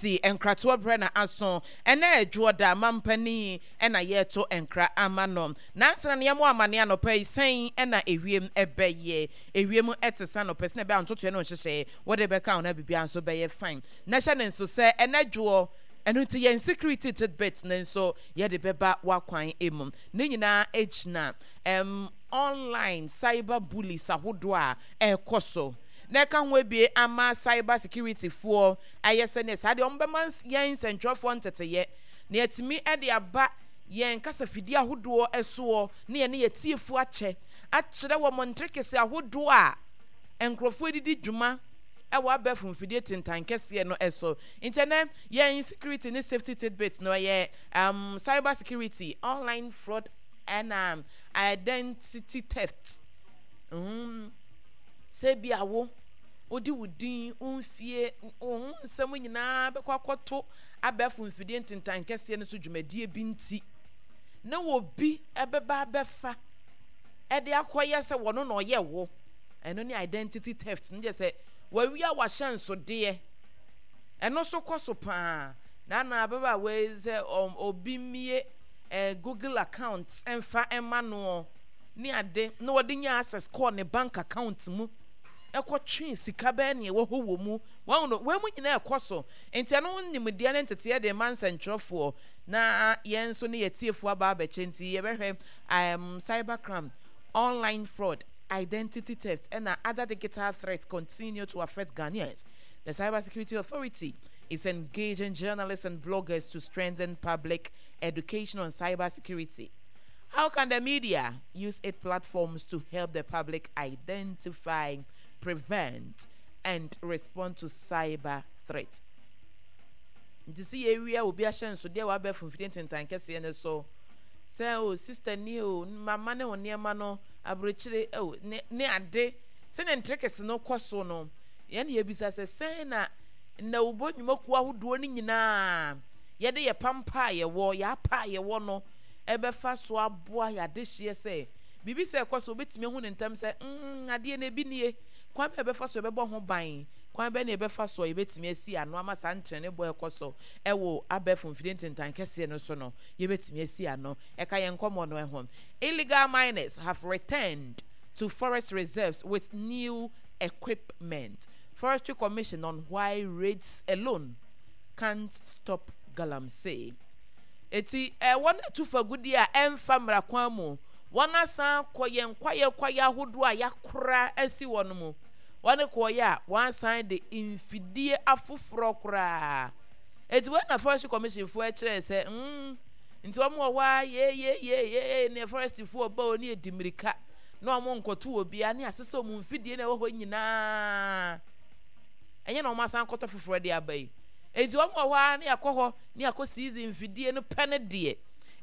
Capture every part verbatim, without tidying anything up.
N C nkratoɔ brɛ na aso ɛnɛ Ɛdwoɔ mampanin ɛna yɛreto nkra ama no. Nansana ne yɛmo amane anɔpa yi sɛn ɛna ewiem ɛbɛyɛ? Ewiem ɛte sa nɔpɛ sɛ ɛbɛyɛ ntotoɛ no nhyehyɛ wɔde bɛka ho na biribiara nso bɛyɛ fine. Na hyɛ ne nso sɛ ɛnɛ dwoɔ ɛno nti yɛn security tidbit ne nso yɛde bɛba wakwan emu. Ne nyinaa gyina um, online cyber bullies ahodoɔ a ɛrekɔ so na ɛka ho ebie ama cyber security foɔ ayɛ sɛ ne saa deɛ wɔn bɛma yɛn nsɛntwerɛfoɔ nteteyɛ na yɛtumi de aba yɛn kasafidie ahodoɔ soɔ ne yɛn ne yɛ tiefoɔ akyɛ akyerɛ wɔn nterekese ahodoɔ a nkurɔfoɔ didi dwuma ɛwɔ abɛɛfo mfidie tentan kɛseɛ no ɛso. Nti ɛnɛ yɛn security ne safety tidbit no ɛyɛ um, cyber security, online fraud ɛna identity theft. mm. Sɛ bi awo wode wo din, wo mfie, wo ho nsɛm nyinaa bɛkɔ akɔto abɛɛfo mfidie ntentan kɛseɛ no so dwumadie bi nti na obi ɛbɛba abɛfa ɛde akɔyɛ sɛ wɔno na ɔyɛ wo. Ɛno ne identity theft no. Gye sɛ wawia wahyɛnsodeɛ, ɛno nso kɔ so paa. Na na ababaawa yi sɛ obi mmie ɛɛ Google account ɛmfa ɛma noɔ ne ade na wɔde nya access kɔɔ ne bank account mu ɛkɔtwe sika bɛɛ nea ɛwɔ hɔ wɔ mu. Wɔn no wɔn mu nyinaa ɛkɔ so. Nti ɛno nimdeɛ ne nteteɛ de ma nsɛntwerɛfoɔ na yɛn nso ne yɛtiefoɔ aba abɛkyɛ. Nti yɛbɛhwɛ um, cyber crime, online fraud, identity theft ɛna other digital threats continue to affect Ghanaians. The Cyber Security Authority is engaging journalists and bloggers to strengthen public education on cyber security. How can the media use its platforms to help the public identify, prevent, and respond to cyber threat? Nti sɛ yɛwia obi ahyɛnsodeɛ wɔ abɛɛfo mfidie ntentan kɛseɛ no so sɛ o sister ni o mama ne wo nneɛma no aburokyire o ne ne ade sɛnea ntere no kɔ so no, yɛn yɛbisa sɛ sɛn na nnawubɔ nnwumakuo ahodoɔ no nyinaa yɛde yɛ pampa a yɛwɔ, yɛapa a yɛwɔ no ɛbɛfa so aboa yɛ adehyeɛ sɛ biribi sɛ ɛkɔ so, obɛtumi ahu ne ntɛm sɛ mm adeɛ no ebi nie, kwan bɛɛ bɛfa so yɛbɛbɔ ho ban, kwan bɛɛ na yɛbɛfa so a yɛbɛtumi asi ano ama saa ntrɛne bɔ ɛkɔ so ɛwɔ abɛɛfo mfidie ntentan kɛseɛ no so no yɛbɛtumi asi ano. Ɛka yɛn nkɔmmɔ no ɛho. Illegal miners have returned to forest reserves with new equipment. Forestry Commission on why raids alone can't stop galamsey. Eti ɛwɔ no atu fagudie a ɛmfa mmara kwan mu, wɔn asan kɔ yɛn kwaeɛ kwaeɛ ahodoɔ a yɛakora asi wɔn mu. Wɔn kɔɔyɛ a wɔn asan de mfidie afoforɔ koraa. Eti wɔn na Forestry Commission foɔ kyerɛ sɛ mm nti wɔn wɔ hɔ a yeyeyeye ne forest foɔ ba o ne edi mirika na wɔn nkɔto wɔ bia ne asesa wɔn mfidie na ɛwɔ hɔ nyinaa. Ɛnyɛ na wɔn asan kɔtɔ foforɔ de aba yi. Eti wɔn wɔ hɔ a ne akɔ hɔ ne akɔ seize mfidie no pɛ ne deɛ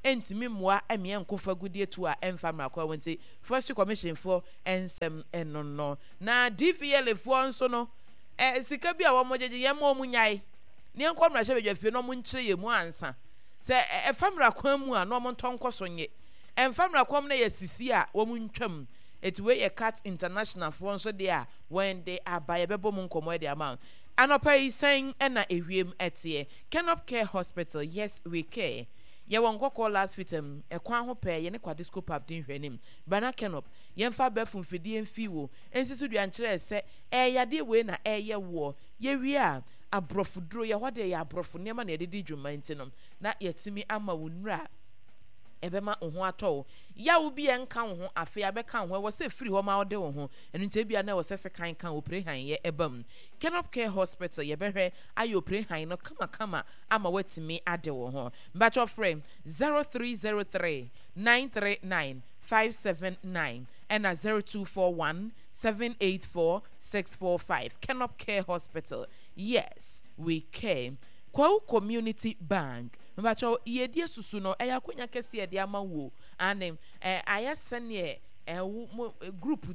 ɛntumi mmoa ɛmeɛ nko fagudie tu a ɛmfa mmara kwan wɔn. Nti Forestry Commission foɔ nsɛm ɛno no. Na D V L A foɔ nso no ɛ sika bi a wɔn gyegye yɛn ma wɔn nyae ne yɛn kɔ mmarahyɛ badwa fie na wɔn nkyerɛ yɛn mu ansa sɛ ɛfa mmara kwan mu a na wɔn ntɔ nkɔ so nye ɛmfa mmara kwan mu na yɛ sisi a wɔn ntwam. Eti wei yɛ CAT International foɔ nso deɛ a wɔn de aba. Yɛbɛbɔ mu nkɔmɔ de ama anɔpa yi. Sɛn ɛna ewiem ɛteɛ? Kenop Care Hospital, yes we care. Yɛwɔ Nkɔkɔɔ Last Fitam ɛkwan ho pɛɛ yɛne Kwadisco Pub di nhwɛnim. Bana Kenop yɛmfa abɛɛfo mfidie mfi wo nsi so dua nkyerɛ sɛ ɛyɛ yadeɛ wei na ɛyɛ woɔ. Yɛwie a aborɔfo duro yɛ hɔ deɛ yɛ aborɔfo nneɛma na yɛde di dwuma nti no na yɛtumi ama wo nnura ɛbɛma wo ho atɔ wo. Yawo bi a nka wo ho afei abɛka wo ho, ɛwɔ sɛ firi hɔ ma wode wo ho. Ɛno nti ebia na ɛwɔ sɛ sekan ka opere han yɛ ɛba mu. Kenop Care Hospital yɛbɛhwɛ ayɛ opere han no kamakama ama watumi ade wo ho. Mbatwɛ frɛ zero three zero three nine three nine five seven nine ɛna zero two four one seven eight four six four five. Kenop Care Hospital, yes we care. Kwawu Community Bank, mbatwɛ yɛdi susu no ɛyɛ akonnwa kɛseɛ de ama wo ane ɛ ayɛ sɛneɛ ɛwo mo group.